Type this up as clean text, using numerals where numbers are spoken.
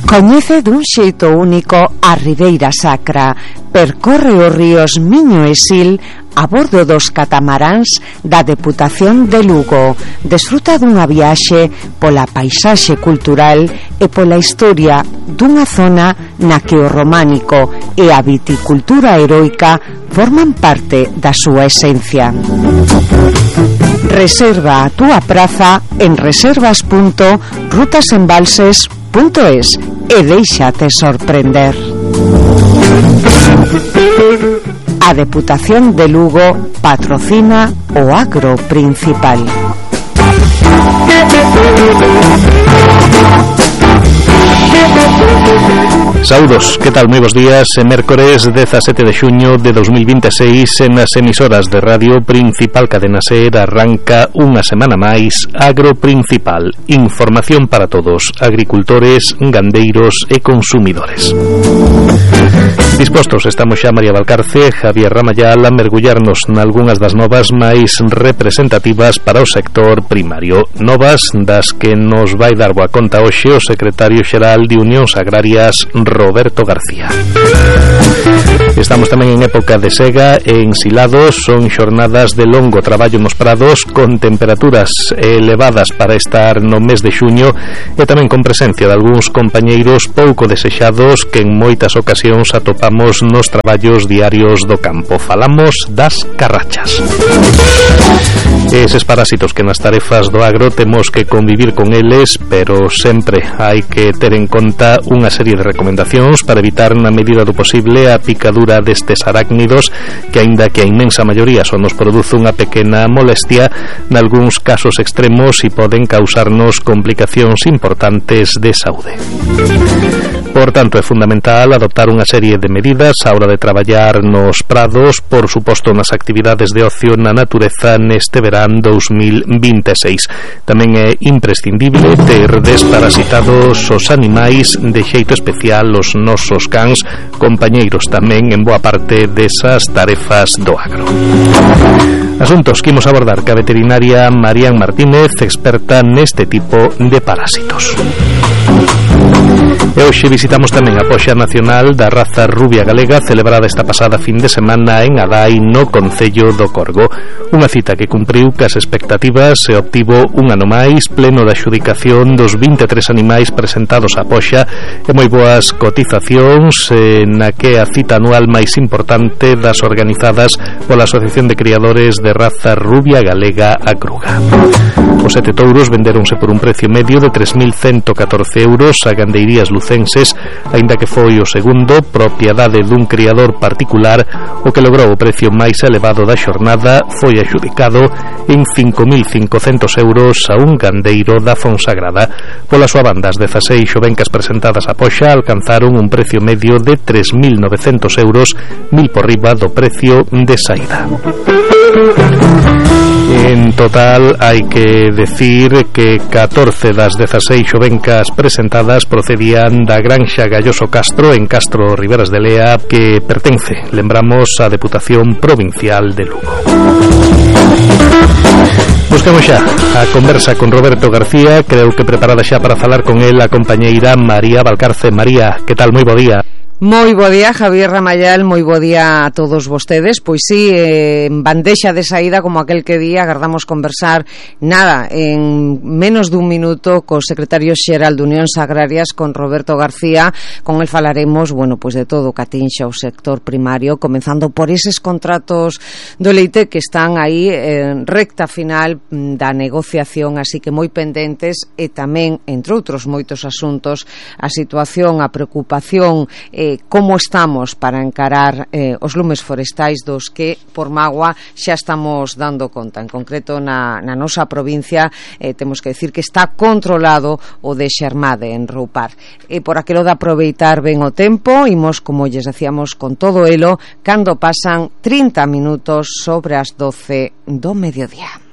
Coñece dun xeito único a Ribeira Sacra, percorre os ríos Miño e Sil a bordo dos catamaráns da Deputación de Lugo. Desfruta dunha viaxe pola paisaxe cultural e pola historia dunha zona na que o románico e a viticultura heroica forman parte da súa esencia. Reserva a túa praza en reservas.rutasembalses.es e déixate sorprender. A Deputación de Lugo patrocina o agro principal. Saúdos, que tal? Moi bons días. Mércores 17 de xuño de 2026 en as emisoras de Radio Principal Cadena Ser arranca unha semana máis Agro Principal. Información para todos, agricultores, gandeiros e consumidores. Dispostos estamos xa María Valcarce, Javier Ramayal a mergullarnos nalgúnas das novas máis representativas para o sector primario. Novas das que nos vai dar boa conta hoxe o secretario xeral de Unións Agrarias, Roberto García. Estamos tamén en época de sega e ensilados. Son xornadas de longo traballo nos prados con temperaturas elevadas para estar no mes de xuño e tamén con presencia de algúns compañeiros pouco desexados que en moitas ocasións atopamos nos traballos diarios do campo. Falamos das carrachas. Eses parásitos que nas tarefas do agro temos que convivir con eles, pero sempre hai que ter en conta unha serie de recomendacións para evitar na medida do posible a picadura destes arácnidos que, aínda que a inmensa maioría só nos produce unha pequena molestia, nalgúns casos extremos e poden causarnos complicacións importantes de saúde. Por tanto, é fundamental adoptar unha serie de medidas á hora de traballar nos prados, por suposto nas actividades de ocio na natureza neste verán 2026. Tamén é imprescindible ter desparasitados os animais, de xeito especial os nosos cans, compañeiros tamén en boa parte desas tarefas do agro. Asuntos que imos abordar ca veterinaria Marían Martínez, experta neste tipo de parásitos. E hoxe visitamos tamén a Poxa Nacional da raza rubia galega, celebrada esta pasada fin de semana en Adai, no concello do Corgo. Unha cita que cumpriu cas expectativas e obtivo un ano máis, pleno da adxudicación dos 23 animais presentados á Poxa e moi boas cotizacións, na que a cita anual máis importante das organizadas pola Asociación de Criadores de Raza Rubia Galega Acruga. Os 7 touros venderonse por un precio medio de 3.114 euros a gandeirías lucenses, aínda que foi o segundo, propiedade dun criador particular, o que logrou o precio máis elevado da xornada. Foi adxudicado en 5.500 euros a un gandeiro da Fonsagrada. Pola súa banda, as 16 xovencas presentadas a Poxa alcanzaron un precio medio de 3.900 euros, 1.000 por riba do precio de saída. En total, hai que decir que 14 das 16 xovencas presentadas procedían da Granxa Galloso Castro, en Castro Riberas de Lea, que pertence, lembramos, á Deputación Provincial de Lugo. Buscamos xa a conversa con Roberto García, creo que preparada xa para falar con el a compañeira María Valcarce. María, que tal? Moi bo día. Moi bo día, Javier Ramayal, moi bo día a todos vostedes. Pois sí, en bandexa de saída, como aquel que día, agardamos conversar nada, en menos dun minuto co secretario xeral de Unións Agrarias, con Roberto García. Con el falaremos, bueno, pois de todo o catinxa o sector primario, comenzando por eses contratos do leite que están aí en recta final da negociación, así que moi pendentes, e tamén, entre outros moitos asuntos, a situación, a preocupación, como estamos para encarar os lumes forestais dos que por mágoa xa estamos dando conta. En concreto na nosa provincia temos que decir que está controlado o de Xermade en Roupar. E por aquilo de aproveitar ben o tempo, imos, como lles decíamos, con todo elo, cando pasan 30 minutos sobre as 12 do mediodía.